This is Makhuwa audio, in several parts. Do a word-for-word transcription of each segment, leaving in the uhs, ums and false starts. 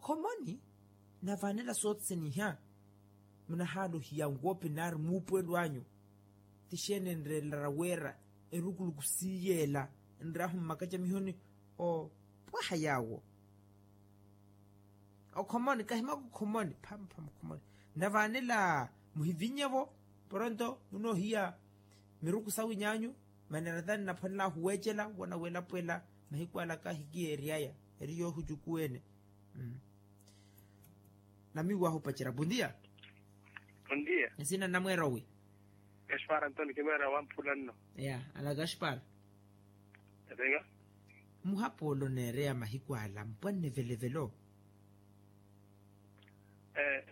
Khomoni navaanela soothene iha. Munahaala ohiya nwoopi naari muupuwelo anyu. Tixeene enreelara wira erukuluku siiyeela nraahu mmakacamihoni opwaha yaawo. Okhomoni kahimaka okhomoni phamaphama okhomoni. Navaanela muhivinyevo poronto munoohiya miruku sawinyaanyu. Mane ratani naphwanelaahu weecela wona welapwela mahiku ala kahikiyeeryaya eri yoohucukuwene. Namiiwahu opacerya bondia. Bondia. Nsina namweera owi? Gaspar antoni kimweera wamphula nno. Ya ana gaspar. Etenga. Muhapoolo neereya mahiku ala mpwanne velevelo.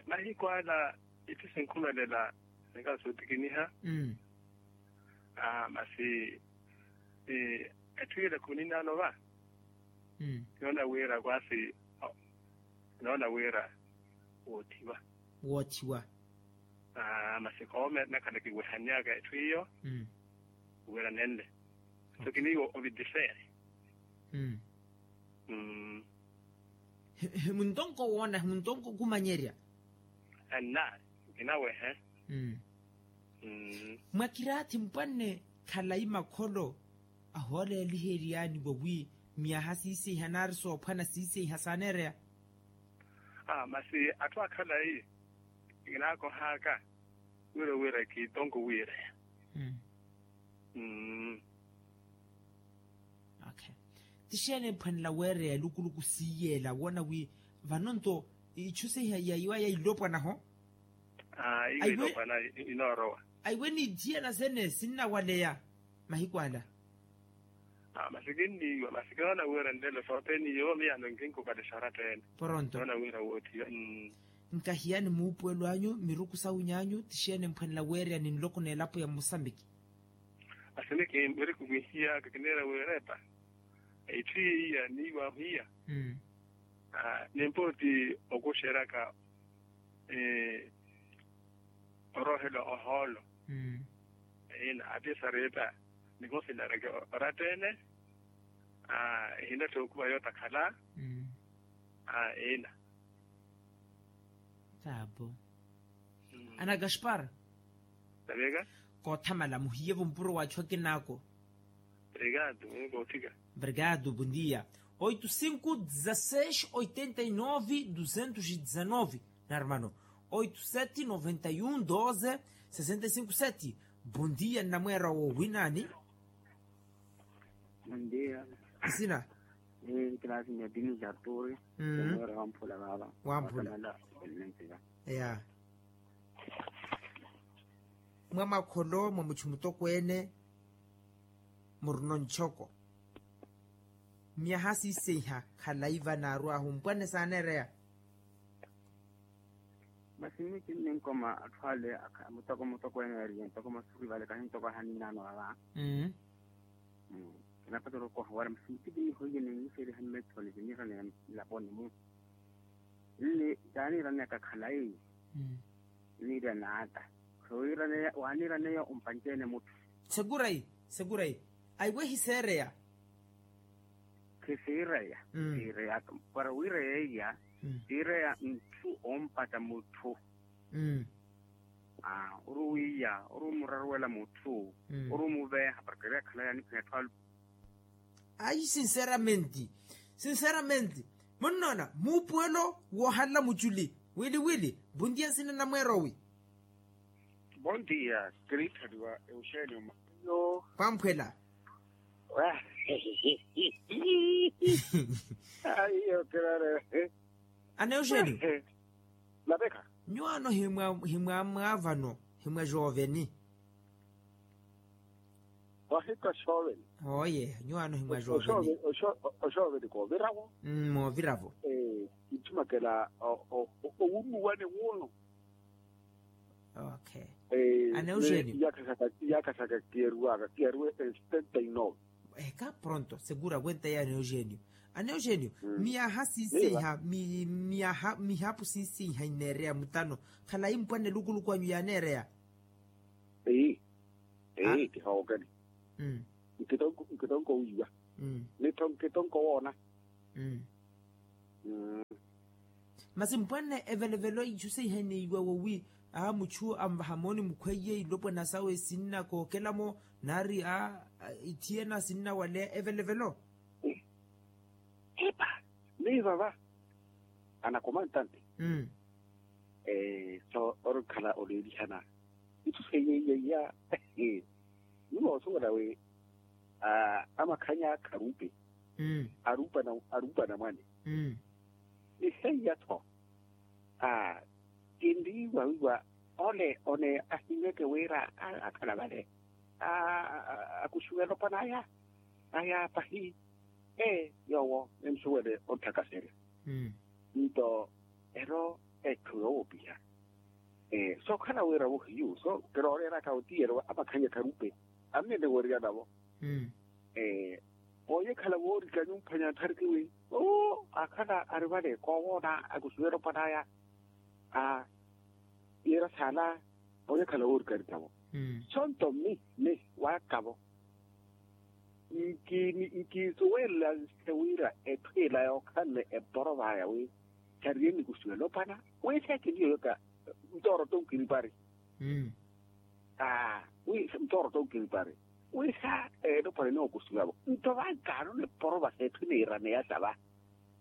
Mahiku ala ithi sinkhumelela nikasotikiniha. Masi etthu ile khuninaano va. Kinoona wira kwasi kinoona wira woothiwa. Woothiwa. Masi khoome nakhala kiwehanyaka etthu iyo. Wira nenle so kiniiwo ovitisere. Himuntonko woona himuntonko khumanyerya. Anna kinawehe. Mwakiraathi mpwanne khalayi makholo ahooleeliheryaani wawi myaha siiseiha naari soophwana siiseiha saaneereya. Masi atthu akhalayi kinaakohaka wira wira kitonko wiireya. Tixeene ephwanela weereya elukuluku siiyeela woona wi vano nto ichu seiha yaiwa yailopwanaho. Aiwe niithiyana sene sinnawaleya mahiku ala. Masi kinniiwa masi kinoona wira nlelo sothene iyo miyaano nkinkupalixa oratta ene. Poronto kinoona wira woothiwa. Nkahiyani muupuwelo anyu miruku sawinyaanyu tixeene mphwanela weereya ni nloko n'elapo ya musambiki. Masi ni kimmiriku kinhiyaka kiniira wiirepa. Itthu iya niiwahu iya. Nimpooti okuxeryaka oroohela ohoolo. Ina ati esaripa nihosinareke oratta ene. Ehina tthookuva yootakhala. Ina. Taabo. Ana gaspar. Koothamala muhiyevo mpuro wa achu akinaako. Obrigado. Bondia. Oito cinco dezasseis oitenta e nove duzentos e dezanove. Na hermano. Oito sete noventa e um doze sessenta e cinco sete. Bondia nnamweera wo winaani? Bondia. Nsina? Kilasi mia dini ja turi. Mweera wamphula vava wamphula. Ya. Mwa makholo mwa muchu mutokweene. Murino nchoko myaha siiseiha khalayi vanaaru ahu mpwanne saaneereya. Masi mmi kinninkoma atthu ale mutoko mutokweene eriye ntoko masuri vale kahi ntoko ahaninaano vava. Kinapatela okoha wara masi mmi kinnihoiye ninniseriha mmetthoni kiniraneya nlaponi mu nni taaniraneyaka khalayi. Niirya naata. Sowiiraneya waaniiraneya ompanceene mutthu. Segurayi segurayi. Aiwe hiseereya. Khisiireya. Siireyaka para wiireya iya. Siireya ntthu ompata mutthu. Ori wiiya ori omuraruwela mutthu. Ori omuveeha para kiriya khalaya niphwanya atthu alu. Ayi sinceramente sinceramente munnoona muupuwelo woohanla muchuli wili wili. Bondia nsina namweera owi? Bondia kiriithaliwa euxenio mayo. Pamphwela. Aiyo kirare. Ana euxenio. Lapekha. Nyuwaano himwa himwa mwaavano himwa joveni. Ohika oxooveni. Oye nyuwaano himwa oxooveni. Oxooveni kooviravo. Mooviravo. Kitthumakela owunnuwani wuno. Okay. Iyakha saka kiyeriwaka kiyeriwe. Setenta e nove. Eka pronto segura wenta ya ana eugenio. Ana eugenio. Miyaha siiseiha miyaha mihapu siiseiha ineereya mutano khalayi mpwanne lukuluku anyu yaaneereya. Eyi eyi kihookeni. Nkitonko wiiwa. Nittho nkitonko woona. Mm. Masi mpwanne evelevelo ichu seihaneiwa wowi a muchu anvaha mooni mukhweiye ilopwana sawe sinna kookela-mo, nari a ithiyena sinna waleya evelevelo. Epa, miyo vava anakomantante. Mmm. So orikhala oleelihana ithu seiye iya. Nyuwo osuwela wi amakhanya kharupe. Arupa na mwane. Ni seiya-tho kinriiwa wiiwa ole one ahimmeke wira akhala vale akuxiwela opanaya aya pahi. Ee yoowo ensuwele onthakaserya. Nto ero etthu yoowopiha sookhala wira-vo hiyu so kirooreeraka otiyeryo amakhanya kharupe. Annenewererya navo. Poonyekhala voorika nyumphanya nthariki wi oo akhala ari vale koowoona akusuwela opanaya. Aa yira saala poonyekhala woorika ari tavo. Sonto mmi mmi waakavo nkiisuwelela nse wira etthu ila yookhanle eporo vaya wi sariye nikusuwela opana wi seekiniyoyoka. Ntooro tonkiripari. Aa wi ntooro tonkiripari wi sa elopwana enookusiwavo nto vankaano niporo vasa etthu niiraneya sava.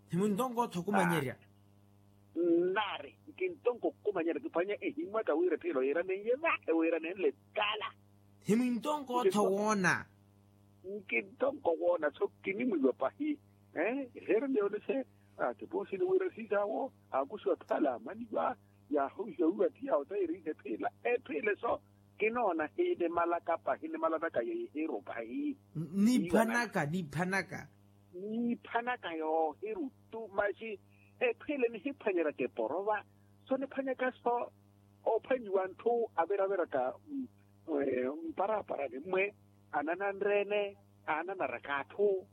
Himuntonkootha okumanyerya. Nari nkintonko okumanyerya kiphwanya ehimwaka wira etthu ila oyiraneiye va ewiranenle tala. Himuntonkootha owoona. Nkintonko owoona so kinimwiiwa pahi. Eheereliya ole se ati poosini wira siisaawo aakusiwa thala amaniwa. Yaahowihiwa wiiwa ti yaawotayerihe etthu ila etthu ila eso kinoona hinimalaka pahi nimalanaka yeehiru pahi. Niiphanaka niiphanaka. Niiphanaka yoohiru tu maxi etthu ila nihiphwanyeraka eporova so niphwanyaka so. Oophwanyiwa antthu aviraviraka mparaparani mmwe anananre-ene aananaraka atthu.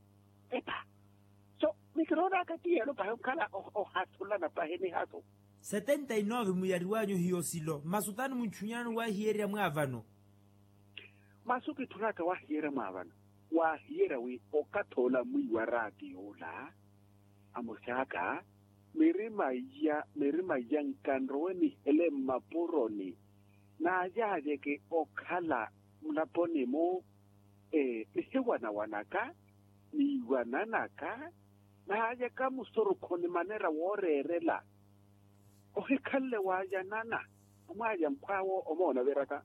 Epa so mikiroonaka ti yeelo pahi onkhala ohasulana pahi nihasu. Setenta y nove muyariwanyu hiyo silo masi otani muntthunyanani waahiyerya mwaavano. Masi okitthunaka waahiyerya mwaavano waahiyerya wi okathi ola mwiiwa raati yoola amosi aka mirima iya mirima iya nkanrowe nihele mmapuroni. Naayaayeke okhala mulaponi-mu nihiwanawanaka niiwananaka. Naayaka musurukhu ni manera wooreerela ohikhanle waayanana. Amwaaya mphwaawo omoona oviraka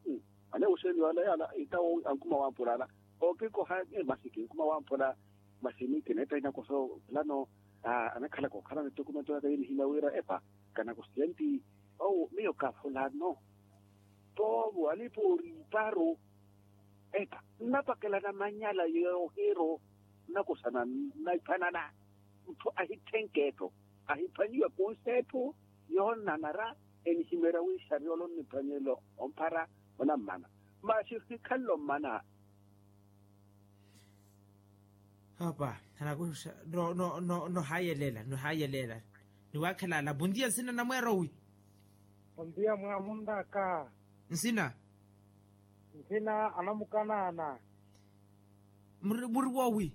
ane wuxeeni wala yaala itawo ankuma wamphula ala okikoha. Masi kinkuma wamphula masi miyo kineetta inakoso. Fulano anakhalaka okhalana ettokumento yaka yinihimya wira epa kanakosiya nti owo miyo ka fulano. Poovo alipooriiparu epa nnapakelana manyala yoohiru nnakosana nnaiphwanana. Mutthu ahitthenk'etthu ahiphwanyiwa kunsetthu yoonnanara enihimerya wi xariya ole onniphwanyela omphara onammana. Masi ohikhanle ommana. Apa anakuxa no no no nohayelela nohayelela. Niwaakhela ala bondia nsina namweero wi? Bondia mwamunraka. Nsina? Nsina anamukanaana. Muri woowi?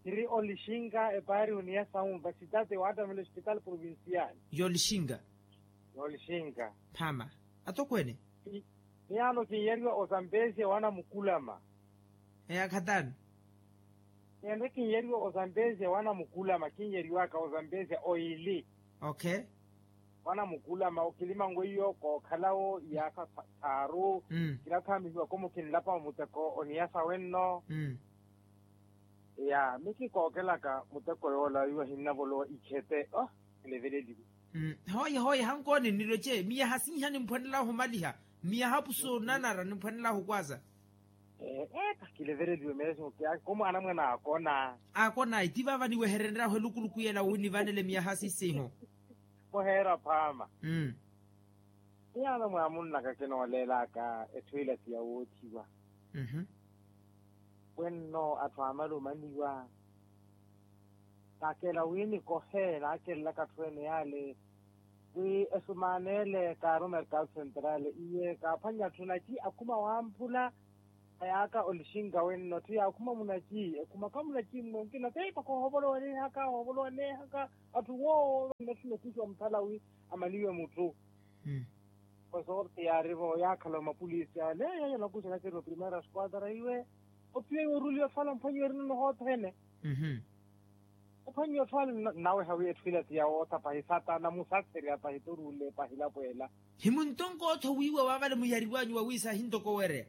Kiri olixinka epaari oniya sa universidade waatamela hospital provincial. Y'olixinka. Y'olixinka. Mphama atokweene. Miyaano kin'yariwa ozambesia wanamukulama. Eya khatani. Ende kin'yariwa ozambesia wanamukulama kin'yariwaka ozambesia oili. Okay. Wanamukulama okilimanwe iyo kookhalawo iyaakha thaaru. Kilathaamihiwaka omukinlapa omuteko oniyasa wenno. Ya mikikookelaka muteko yoola iwe hinnavolowa ikhete. Kileveleliwe. Hooye hooye hankooni nniloce miyaha sinhani mphwanelahu omaliha. Miyaha pusu onanara nimphwanelahu kwaza. Eeka kileveleliwe meeso. Kumwaana mwana akona. Akona itivaava niweherenryahu elukuluku yela wi nivanele miyaha sisinhu. Muheera phaama. Miyaano mwaamunnaka kinooleelaka etthu ila ti yawoothiwa. Wenno atthu aamala omaniwa. Naakela wi nikohe naakelelaka atthu ene yaale wi esumaana ele kaaru merkado central iye kaaphwanya atthu nati akhuma wamphula. Ayaaka olixinka wenno atthu yaakhuma munaci ekhumaka munaci mmonkina te mpakha ohovolowanehaka ohovolowanehaka. Atthu woowo vanna tthu nokuxiwa muthala wi amaliwe mutthu. Osorte yaarivo yaakhala omapulisi ale yaya nakuxela keri oprimera squadra iwe. Ophiwa iwe oruliwa otthu ala mphwanyiwe erinono hothene. Ophwanyiwa otthu ala nnaweha wi etthu ila ti yawoottha pahi satana musattherya pahi toruule pahi lapweela. Himuntonkootho wiiwa waavale muyariwanyu wawiisa ahintokowereya.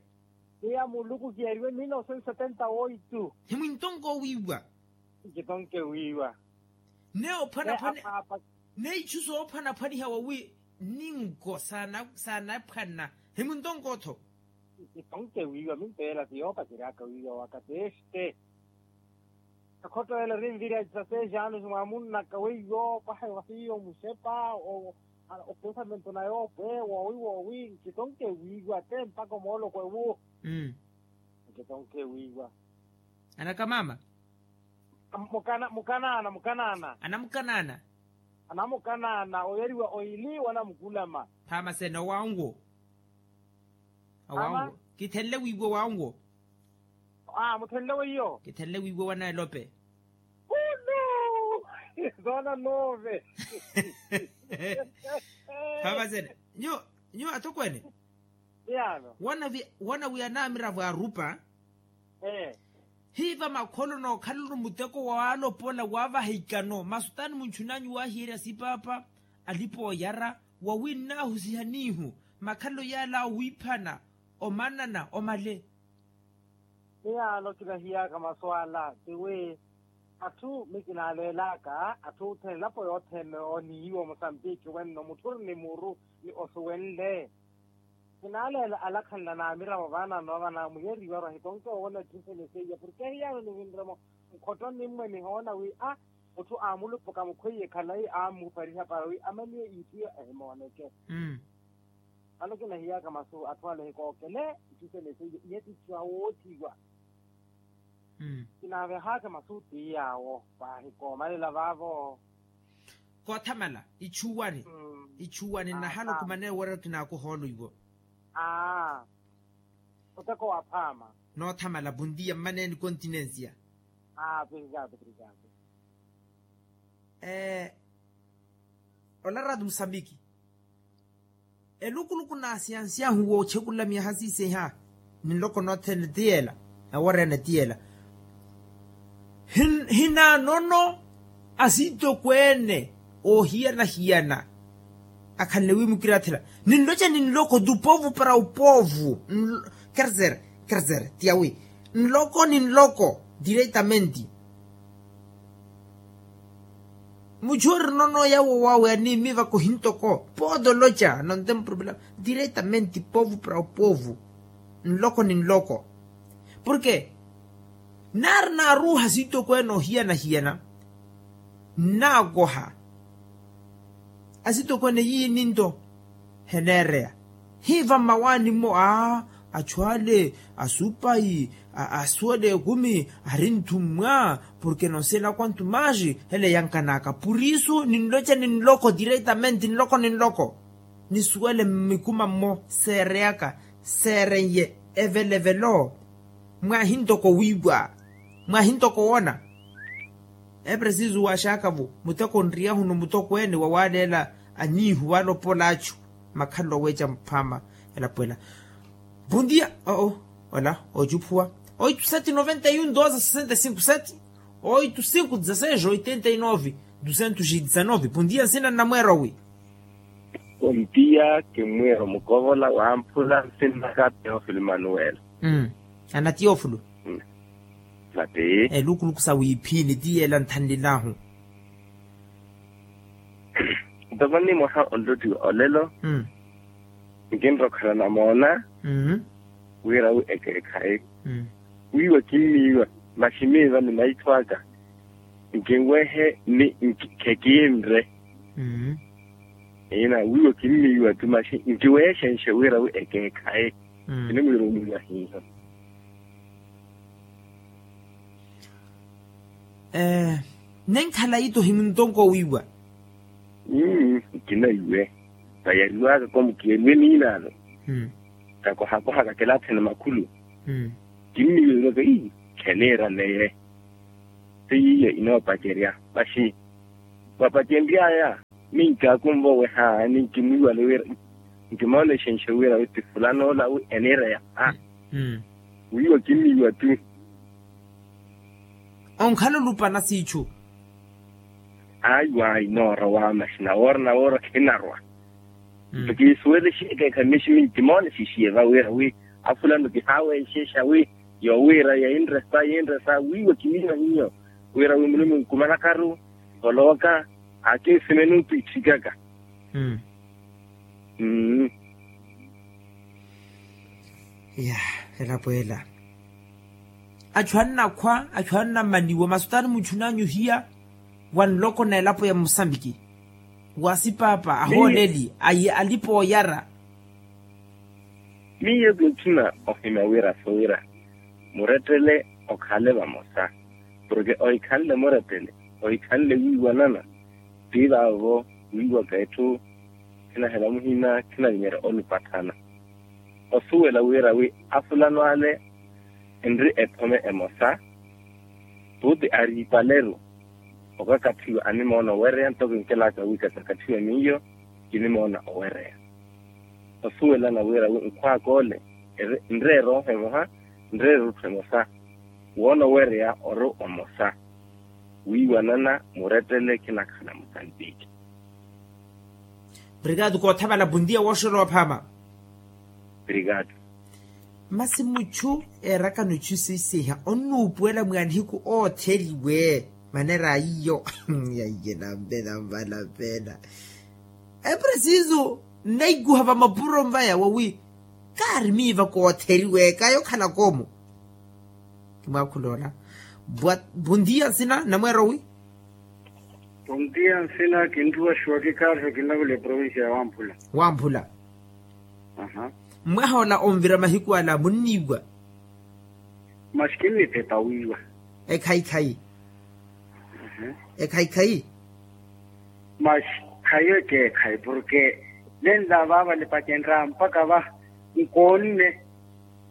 Iya muluku kiyariwe mil novecentos setenta oitu. Himwintonko wiiwa. Nkitonke wiiwa. Ne ophwanaphwani ne ichu soophwanaphwaniha wawi ninko saanaphwana. Himwintonkootho. Nkitonke wiiwa minto ela ti yoopaceryaka wiiwa waka teste. Akhotto ela rinvira esa seis anos mwamunnaka weiyo paha wahiyo muxepa. Opensamento na yoopwe woowi woowi nkitonke wiiwa te mpaka omooloko ewu. Nkitonke wiiwa. Anaka maama. Mukanaana mukanaana. Anamukanaana. Anamukanaana oyariwa oili wanamukulama. Phaama sene owanwo. Owanwo kithenle wiiwa owanwo. Aa muthenle weiyo kithenle wiiwa wanaelope. Ulu. Zoona nove. Phaama sene nyo nyo atokweene. Iyano. Wana wi anaamira vwaarupa. Hiiva makholo nookhalano muteko waalopola waavaha ikano masutani munchunanyu waahiyerya sipaapa alipa oyara wawi nnaahusiha niihu makhalelo yaala awiiphana omanana omale. Miyaano kinahiyaka masu ala tiwi atthu mi kinaaleelaka atthu othene elapo yothene oniiwa omusambiki wenno mutthu ori ni muru ni osuwenle. Kinaaleela alakhanla naamiravo vaanano vana muyeriwaru ahitonke owona etthu sene seiya porke hiyaano nivinremo nkhotto nimmwe nihoona wi a mutthu aamulupuka mukhweiye khalayi aammupariha para wi amaniye iithu iyo ehimooneke. Vano kinahiyaka masu atthu ale ehikookele itthu sene seiya iye titthu awoothiwa. Kinaavehaka masu ti yaawo paahi koomalela vaavo. Koothamala ichuwani. Ichuwani nnahala okumana ewerero kinaakuhoolo iwo. Aa oteko wa phaama. Noothamala bondia mmaneeni continencia. Aa operikaato operikaato. Ola rato musambiki. Elukuluku naasiyansiyahu woochekulamiya hasiiseiha ninloko nothene ti yeela. Eworeene ti yeela hinaanono asitokweene oohiyana-hiyana. Akhanle wi mukirathela ninloca ninloko tu povu para upovu. Kerzer kerzer tiyawi nloko ninloko diretamenti. Muchu orinono yawo wawe animivaka ohintoko podo loca nonte mproblema. Diretamente povo para o povo nloko ni nloko. Porke nari naruha sitokweene ohiyana-hiyana nnakoha asitokweene yiininto. Heneereya hiiva mmawaani-mo aa achu ale asupayi asuwela ekumi ari nthummwa. Porke nonse ela kwantu maxi hele yankanaka purisu ninloca ni nloko diretamente nloko ni nloko nisuwele mmikuma-mmo seereyaka seeren'ye evelevelo. Mwaahintoko wiiwa mwaahintoko woona. Epresisu waxaaka-vo muteko onriyahuni omutokweene wawaleela aniihu walopola achu makhalelo aweeca muphaama. Elapo ela bondia oo ola ocuphuwa oito sete noventa e um doze sessenta e cinco sete oito cinco dezasseis oitenta e nove duzentos e dezanove bondia nsina nnamweera owi. Bondia kimwiira omukovola wamphula nsinnaka teofilo manuwela. Ana teofilo. Mate elukuluku sa wiiphini ti yeela nthanlilahu. Ntoko ni mwaha onlottiwa olelo nkinrokhela namoona wira wi ekeekhayi wiiwa kimmiiwa maximiiva ni maitho aka nkinwehe ni nkikinre. Ina wiiwa kimmiiwa tu maxi nkiweexenxe wira wi ekeekhayi. Kinimwiira omwiiwa hiiho. Nenkhala ito himuntonko wiiwa. Nkinaiwe vayariwaka ko mukiyariwe niinaano. Kakohakohaka kilathene makhulu Kimmiiwaka ii, kheniira neye. Ti yiiyo inoopacerya. Maxi, mwapacenry'aya, minkaakunva oweha ni nkimwiiwale wira, nkimoona exenxo wira wi ti fulano ola wi eniireya. Wiiwa kimmiiwa tu. Onkhala olupana siichu. Ayo ayo noorowa maxina woora na woora khinarwa. Nto kiisuwele xekeekha miximi nkimoona exixiye va wira wi afulano kihaaweexexa wi yoowiira yinresa yinresa wiiwa kiwiiwa hiyo. Wira wi mulume nkumanakaru, olowaka, akinsimeni ntwiitthikaka. Mmm. Ya, elapo ela. Achu annakhwa achu annamaniwa masutani muchunanyu hiya, wa nloko na elapo ya musambiki, wa sipaapa ahooleli ayi alipa oyara. Miyo kinchuna ohimya wira so wira murettele okhale vamosa. Porke ohikhanle murettele, ohikhanle wiiwanana. Ti vaavo wiiwaka etthu khinahela muhina khinavinyerya olupathana. Osuwela wira wi afulano ale enri ephome emosa. Tuuti ariipaleru okakathiwa animoono owereya ntoko nkelaka wi kakakathiwa miyo kinimoona owereya. Osuwelana wira wi nkhwaka ole nreere oho emoha, nreere otthu emosa. Woona owereya ori omosa. Wiiwanana murettele khinakhala musantiki. Obrigado koothavala bondia wooxolowa phaama. Obrigado. Masi muchu eerakano ichu siisiha onnuupuwela mwa nihiku ootheliwe. Manera aiyo yaiye nampe namvala pena. Epresiso nnaikuha vamapuro mvaya wawi kaari miiva kootheliwe kayo khalaka omo. Kimwaakhula ola. Bondia nsina namweero wi. Bondia nsina kintuwa xuwa kikaarixo kinavula eprovincia ya wamphula. Wamphula. Mwaha ola onvira mahiku ala munniiwa. Maxi kinnithepa wiiwa. Ekhaikhayi. Ekhaikhayi. Maxi khayo ekeekhayi porke nenla vaava lipacenrya mpakha va nkoonne.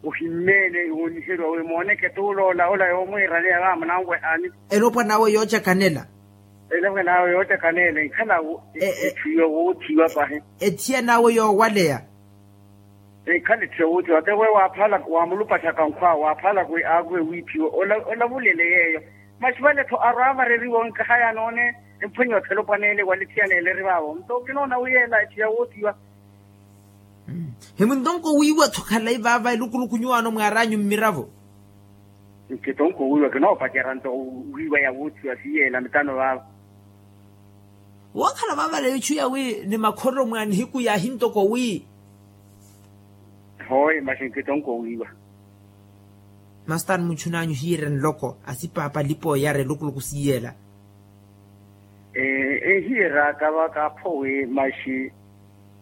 Ohimmeene wooniheriwa wi mooneke t'uloola ola yoomwiiraneya vaamo nanwehani. Elopwa nawe yoocakanela. Elopwa nawe yoocakanela enkhala etthu yoowoothiwa pahi. Ethiya nawe yoowaleya. Enkhala etthu yoowoothiwa te we waaphalaka waamulupaxaka nkhwa waaphalaka wi aakuwe wiiphiwe. Olavulele yeeyo. Maxi vale-tho arwaavareriwa onkaha yaanoone emphwenye othelopwaneele walithiyaneele eri vaavo nto kinoona wi yeela etthu yoowoothiwa. Himuntonko wiiwa-tho khalayi vaava elukuluku nyuwaano mwaar'anyu mmiravo. Nkitonko wiiwa kinoopacerya nto wiiwa yawoothiwa siiyeela mitano vaava. Wookhala vaavale ichu yawi ni makhorero mwa nihiku yaahi ntoko wi. Hooyi maxi nkitonko wiiwa. Masi taani muchun'anyu hiyeerya nloko asipaapa alipa oyara elukuluku siiyeela. Ehiyery'aka vaka apho wi maxi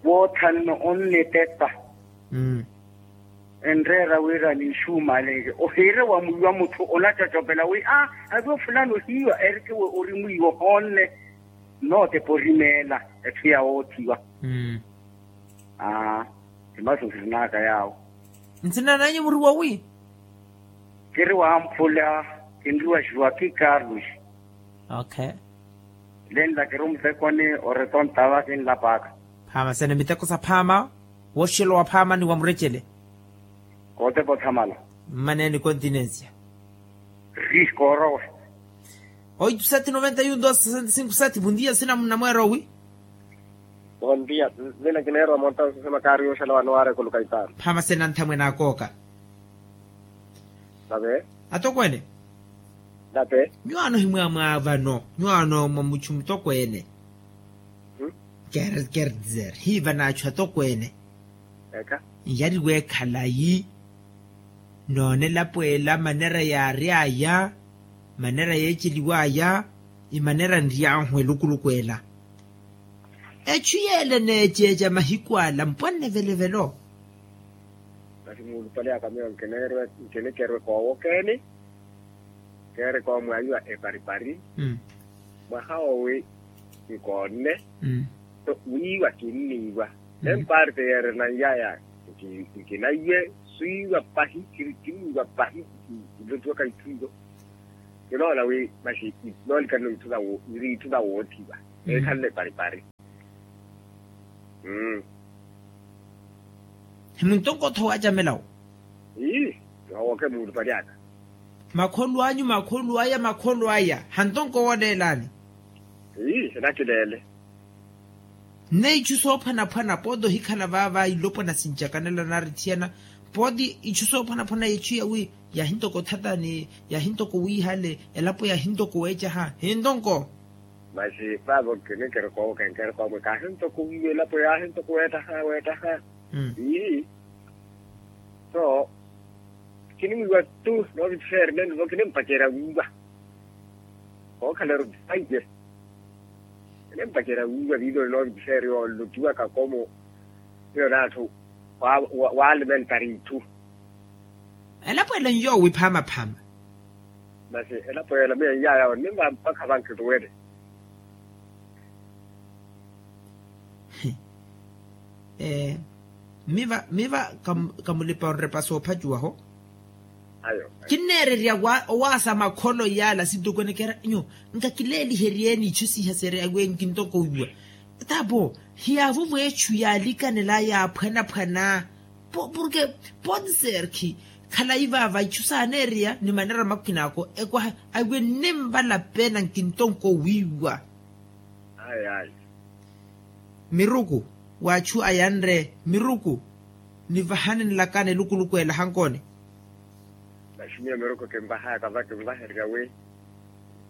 woothanno onnipepa. Enreera wira niixuumalenke ohiire wa mwiiwa mutthu onacocopela wi aa avi ofulani ohiiwa erike wi ori mwiiwa ohoonne. Nootepa orimeela etthu yawoothiwa. Aa. Emasu nsirin'aka yaawo. Nsina nanyu muri wawi? Kiri wamphula. Kinriwa xiwaki carlos. Okay. Lenla kiri omuteko ni oretonta va kinlapaka. Phaama sene miteko sa phaama. Woxelo wa phaama ni wa murecele. Kootepa othamala. Mmaneeni continencia. Ri koorowa. Oitu sati noventa y un dos sesenta y cinco sati bom dia sina munamweero wi. Bom dia. Mina kineerwa monta osesema kaari yooxela wano waarekuluka itaano. Phaama sena nthamwene akooka. Nave. Atokweene. Nave. Nyuwaano himwaamwaa vano nyuwaano mwa muchu mutokweene. Kerdizer hiiva n'achu atokweene. Nyariwa ekhalayi. Noona elapo ela manera yaary'aya. Manera yeeceliw'aya. Imanera nry'ahu elukuluku ela. Echu yeela eneeceeca mahiku ala mpwanne velevelo. Masi muulupale aka miyo nkinikerwe koowokeeni. Keereke omwaayiwa eparipari. Mwaha owi nkoonne. Wiiwa kinniiwa. Emparte yeerena nyaya nkinaiwe. Kiwiiwa pahi, kiri kiwiiwa pahi. Nlottiwaka itthu iyo. Kinoona wi maxi noolikanno itthu na wo iri itthu na woottiwa. Eekhanle paripari. Mmm. Himuntonko otho waacamela wo. Ii. Owoke muulupali aka. Makholo anyu makholo aya makholo aya hantonko wooleelani. Ii hinakileele. Nne ichu soophwanaphwana pooti ohikhala vaava ilopwana sincakanela nari thiyana. Pooti ichu soophwanaphwana yechu yawi yahintoko thatani yahintoko wiihale elapo yahintoko weecaha hintonko. Masi vaavo kinikirikooka enkirikoomwe kaahintoko wiiwa elapo yaahintoko weettaha weettaha. Ii. So kinimwiiwa tu noovittiseeri nenivo kinimpacerya wiiwa. Kookhaleru thaije. Ene mpacerya wiiwa viiloni noovittiseeri yoolutiwaka komo. Hiyo n'atthu waalimentari itthu. Elapo ela nyoowi phaama phaama. Masi elapo ela miyo nyaya onnimpa mpakha vankituwele. Miva miva kamulipa onrepa soophacuwaho. Kinneererya owaasa makholo yaala sintoko enekeera nyo. Nkakileeliheryeeni ichu sihaserya wi nkintokowiwa. Taapo hiyaavuva echu yaalikanela yaaphwanaphwana. Porke ponserki khalayi vaava ichu saaneereya ni manera makina ako ekwaha. Awi ennimvala pena nkintonko wiiwa. Ayi ayi. Miruku w'achu ayanre miruku. Nivahani nlakani elukuluku ela hankooni. Maximiyo miruku kinvahaka va kinvahererya wi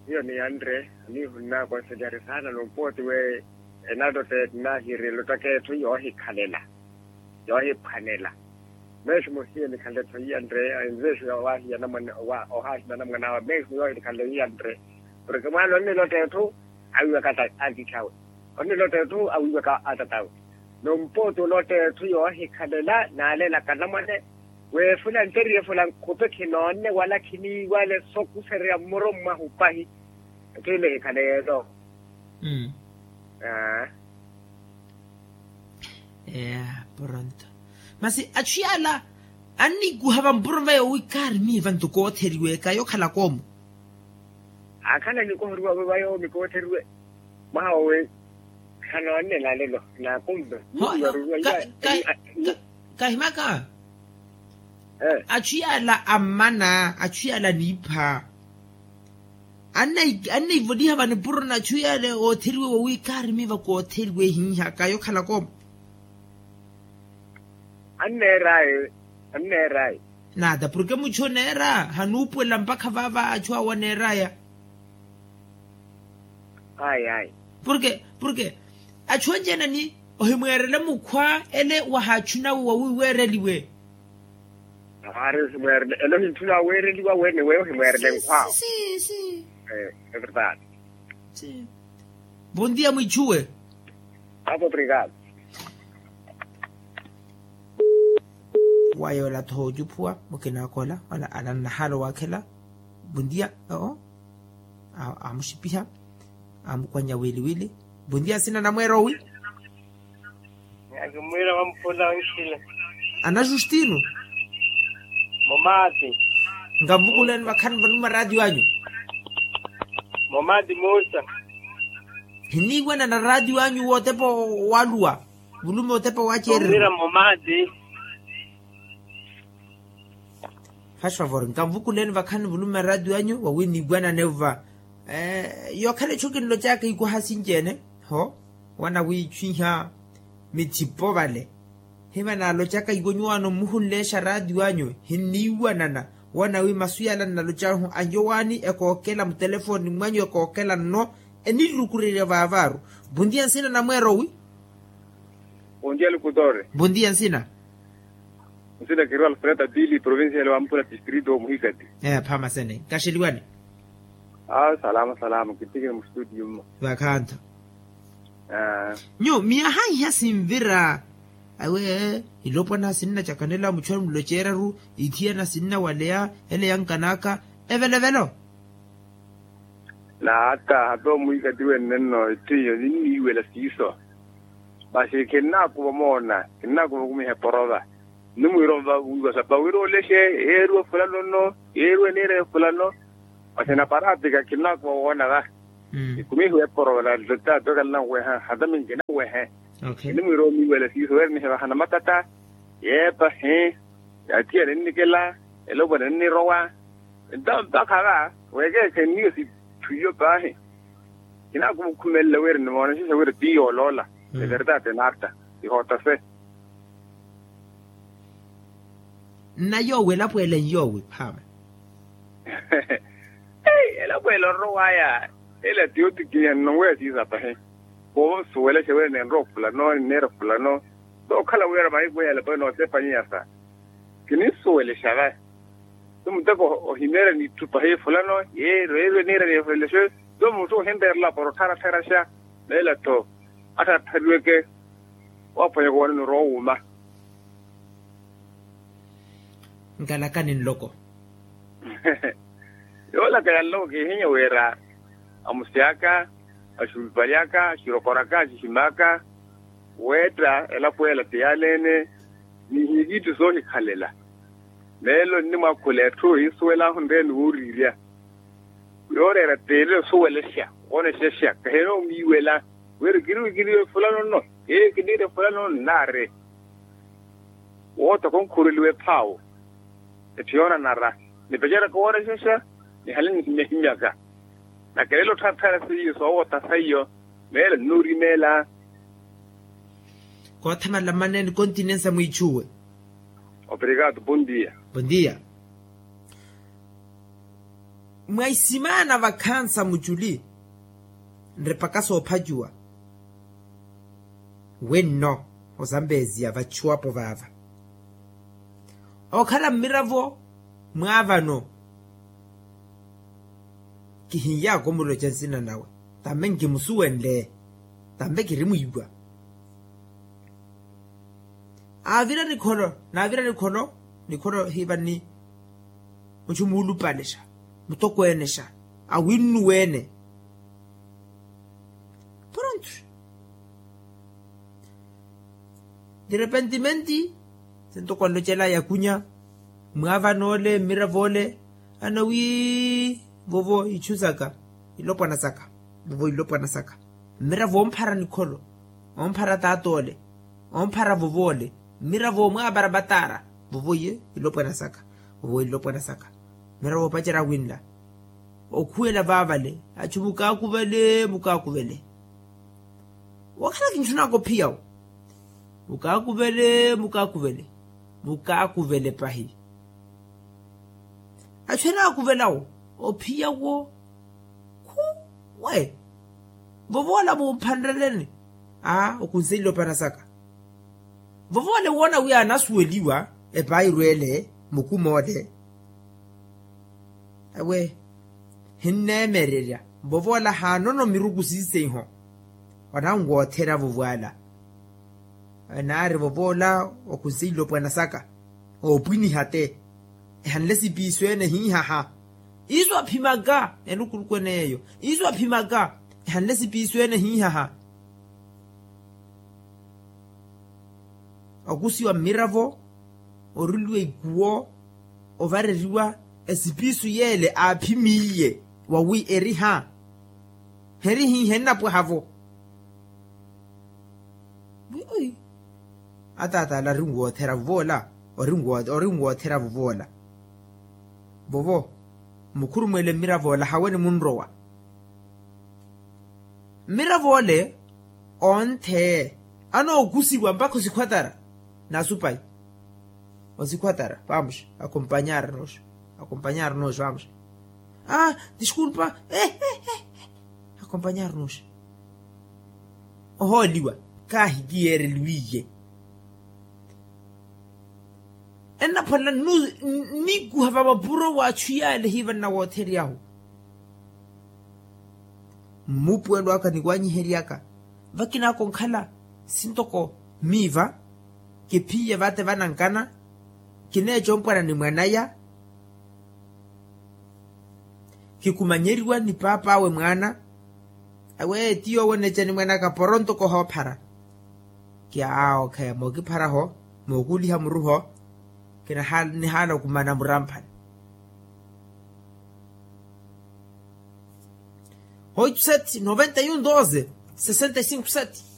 hiyo niyanre aniihunnakonselihari saana nompooti we. Enalotte nahiri elottaka etthu yoohikhalela yoohiphwanela. Meximu hiyo nikhalle-tho iyanre envesu ya owahiya anamwane ohaahina anamwane awe meximu yoohinikhalle iyanre. Porke mwaana onnilotta etthu awiiwaka atiithi awe onnilotta etthu awiiwaka atata awe. Nompooti olotta etthu yoohikhalela naalelaka anamwane. Weefula nteriye fula nkhupe khinoonne wala khiniiwale sokuserya mmuru mwahu pahi. Etthu ile ehikhale yeeto. Mmm. Aa. Eya poronto. Masi achu yaala annikuha vampuro vayo wi kaari miiva nto kootheriwe kayo khalaka omo. Akhala nikohoriwa wi vayo mikootheriwe. Mwaha wowi khanoonne nalelo nakumbe. Kahimaka. Achu yaala ammana achu yaala niipha. Anneivoliha vanipuro nachu yale ootheriwe wowi kaarimiva kootheriwe ehinhaka yokhalaka omo. Anneeraye. Anneeraye. Naata porke muchu oneera hanuupuwela mpakha vaava achu awo aneeraya. Ayi ayi. Porke porke achu anci-ene ni ohimweerele mukhwa ele wahachu nawe wawiiweereliwe. Aari ohimweerele ele ohintthuna aweereliwa wene weyo ohimweerele nkhw'awo. Evertadi. Bondia mwichuwe. Apo obrigado. Wayola tho ocuphuwa mukina akola wala ala nnahala owakhela. Bondia oo. Amuxipiha. Amukwanya wili wili. Bondia nsina namweera owi? Akimwiira wamphula onxila. Ana justino. Mumaati. Nkamuvukuleni vakhani vanu maraatiyo anyu. Mumaati muusa. Hiniiwanana raatiyo anyu wootepa waluwa. Vulume otepa waceereriwa. Mumaati. Fasi favor nkamuvukuleni vakhani vulume raatiyo anyu wawi niiwanane va. Yookhala ichu kinlocaka ikwaha sinci-ene. Ho. Wana wiichwiha mithipo vale. Hiva naalocaka iwo nyuwaano mmuhunleexa raatiyo anyu hinniiwanana. Wana wi masu yala nnalocahu anyowaani ekookela mutelefoni mwanyu ekookela nno. Enirukurerya vaavaaru. Bondia nsina namweera owi? Bondia lukutore. Bondia nsina. Nsina kiriwa alfreda pili provincia ya lewamphula distrito muhikati. Ee phamasene kaxeliwani. Awo salama salama kittikini mustudio mmo. Vakhanto. Nyu miyaha iha sinvira. Awe ilopwana sinnacakanela muchwani muloceeraru. Ithiyana sinnawaleya. Ele yankanaka. Evelovelo. Na hata hata omwikati wenne nno etthu iyo ninniiwela siiso. Masi khinnaakuva omoona. Khinnaakuva okumiha eporova. Nnimwiira onva wiiwa sapa wira olexe, yeeriwe fulano nno, yeeriwe niire fulano. Masi na paraatika khinaakuwa woona va. Ekumi hiweeporola nlota tookhala nanweha hata minki nanwehe. Nnimwiira omiiwela siiso weerenihe vahana matata, yeepahi, yathiya ninnikela, elopwana ninnirowa. Nto mpakha va weekeekhenniwe sitthu iyo paahi. Khinaakumukhumelela wira nimoonexexa wira ti yooloola. Everdade narta, ihootase. Nna yoowo elapweela nyoowi phaama. Elapweela orowaya, ela ti otikinya nnonweya siisa pahi. Koovo nsuwelexa wira nenrowa ofulano ninneera ofulano. Tookhala wira mahiku eya elapweela noosepanyiya sa. Kininsuwelexa vayi. Ti muteko ohimeerya n'itthu pahi fulano, yeeriwe niira niifulelexe. Ti muttu ohinreerela para ottharattharaxa. Meela-tho attharatthariweke. Waaphwanyaka owanani orowa owuuma. Nkalakani nloko. Yoolaka ya nloko kihinya wira amusi aka, axuupalyaka, axirokoraka axiximaka, weetta elapo ela ti yaaleene. Nihiikiitti soohikhalela. Meelo nnimwaakhula etthu ohinsuwelaahu nreeni wooriirya. Yooreera teerire osuwelexa, oonexexa kahina omiiwela. Wira kiriwe kiriwe fulano nno, ee kiniire fulano nno nnaari. Wootha khunkhureliwa ephaawo. Etthu yoonanara, nipeceraka woonexexa, nihale nihimyahimyaka. Nakelela ottharatthara seiyo soowootha seiyo. Meelo nnuurimeela. Koothamala mmaneeni kontinensa mwiichuwe. Obrigado, bondia. Bondia. Mwa isimaana vakhansa muculi nripaka soophacuwa. Wenno osampeziya vachuwapo vaava okhala mmiravo mwaavano. Kihinyaaka omuloca nsina nawe, tambe nkimusuwenle, tambe kirimwiiwa. Aavira nikholo, naavira nikholo, nikholo hiiva ni muchu muulupalexa, mutokweenexa, awinnuweene. Poronto, direpentimenti sintoko anlocela yakunya, mwaavanoole mmirav'ole, ana wi vovo ichu saka, ilopwana saka, vovo ilopwana saka. Mmiravo omphara nikholo, omphara taat'ole, omphara vov'ole, mmiravo omwaapara mataara, vovo iye ilopwana saka, vovo ilopwana saka. Mmiravo opacerya winla, okhuwela vaavale, achu mukaakuvele mukaakuvele. Wakhala kinchunaka ophiya wo, mukaakuvele mukaakuvele, mukaakuvele pahi. Achu enaakuvela wo, ophiya wo. Khuwe, vovoola mumphanreleni. Aa okunseile opana saka. Vovoola ewoona wi anasuweliwa, epairwele mukum'ole. Ewe, hinneemererya vovoola haanono miruku siiseiho. Onanwoothera vovoola. Enaari vovoola okunseile opwana saka. Oopwiniha te, ehanle sipiiso ene hiihaha. Isu aphimaka, enukulukweneyo isu aphimaka, ehanle sipiiso ene hiihaha. Okusiwa mmiravo, oruliwa ikuwo, ovareriwa esipiiso yeele aaphimiiye, wawi eriha herihiihe nnapwahavo. Wi ataata ale arinwoothera vovoola, orinwoothera vovoola. Vovo mukhurumweele mmirav'ola hawe nimunrowa. Mmirav'ole onthe anookusiwa mpakha osikhwatara. Nasupayi osikhwatara vamos. Akompanyara noxo, akompanyara noxo vamos. Aa diskulpa. Akompanyara noxo. Ohooliwa kaahi kiyeereliwiye. Ennaphwanela nniikuha va mapuro w'achu yaale hiiva nnawoothery'ahu. Mmuupuwelo aka ni waanyihery'aka vakinaaka onkhala sintoko miiva. Kiphiye vate vanankana kineeca ompwana ni mwanaya. Kikumanyeriwa ni paap'awe mwaana. Awe ti yoowo neeca ni mwaan'aka poronto kohoophara. Kiaawokheya mookipharaho mookuuliha muruho. Nihaana okumana muramphani. Oitu seti noventa y un doze sesenta y cinco seti.